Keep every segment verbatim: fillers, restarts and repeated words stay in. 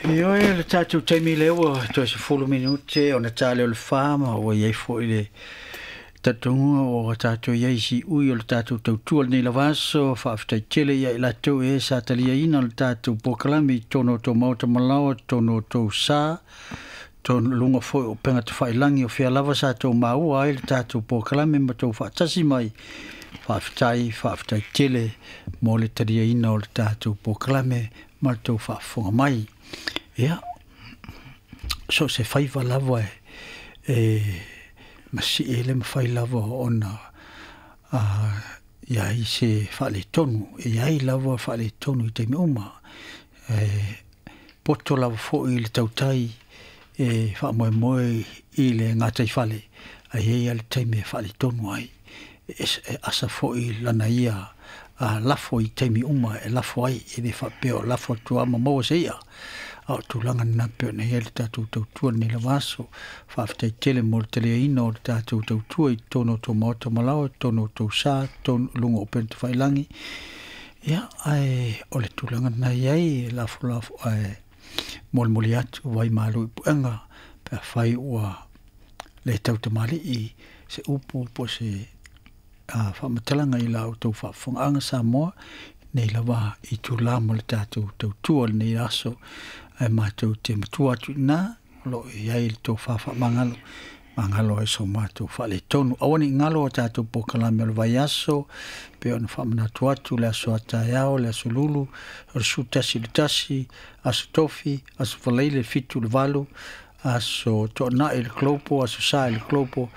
Ioe, le tatou taimi lea ua toe sefulu minute ona tale o le fa, ma ua iai foi le talitonuga ua tatou iai i siui o le tatou tautua lenei lava aso. Faafetai tele ia i latou e sa taliaina le tatou polokalame i totonu o tou maota malaoa, totonu o tou sa, totonu luga foi o upega tafailagi o fea lava sa tou maua ai le tatou polokalame ma tou faatasi mai. Faafetai, faafetai tele mo le taliaina o le tatou polokalame ma le tou faafofoga mai. Ia, so o se faiva lava e, e masii e le mafai lava ona uh, iai se faaletonu, e iai lava faaletonu i taimi uma. E poto lava foi le tautai e faamoemoe i le gataifale, ae i ai le taimi e faaletonu ai. E, e asa foi lana ia a lafo i taimi uma e lafo ai, e le faapea o lafo atu lava ma maua se i'a. A o tulaga lena pei ona i ai le tatou tautua lenei lava aso. Faafetai tele mo le taliaina o le tatou tautua i totonu o tou maota malaoa, i totonu o tou sa, totonu luga o upega tafailagi. Ia, ae o le tulaga lena e i ai, e lafolafo ae molimoli atu vai malu i puega pe afai ua le tautamalii se upu po o se a faamatalaga i la outou faafofogaaga Samoa nei lava itulā mo le tatou tautua lenei aso, ae matou te matua atu i ina o lo o i ai le tofa faamagalo magalo ai so matou faaletonu. Aua ne i galo a tatou polokalame o le vaiaso, pei ona faamanatu atu le aso a taeao, le aso Lulu o le sefulu tasi i le tasi, aso Tofi, aso Faraile le fitu i le valu, aso Toonai i le Global, aso Sa i le Global,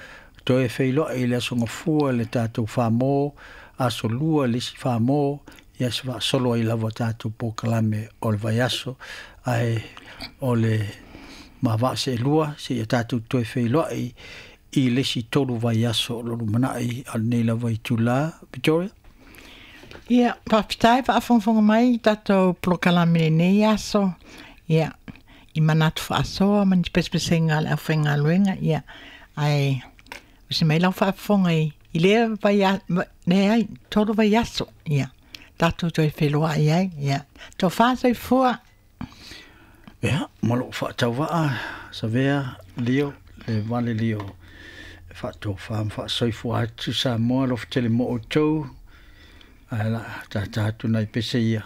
toe feiloai i le aso Gafua le tatou Famo, aso Lua le isi Famo, ia se faasolo ai lava tatou polokalame o le vaiaso, ae o le mavaa seelua seia tatou toe feiloai i le isi tolu vaiaso o lo o lumanai a lenei lava itulā. Victoria? Ia, faafetai faafogafoga mai i tatou polokalame i lenei aso. Ia, i manatu faasoa ma ni pesepesega a le aufaigaluega, ia, ae usi mai lau faafofoga i, i lea vai, leai, tolu vaiaso, ia, tatou toe feiloai ai, ia, tofa soifua. Ia, ma lou faatauvaa, Savea, Lio, le vale Lio, e faatofa ma faasoifua atu Samoa, alofa tele mo outou, ae o le a tata atu nai pese ia,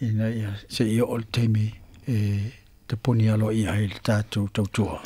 ina ia seia oo le taimi e tapuni aloaia ai le tatou tautua.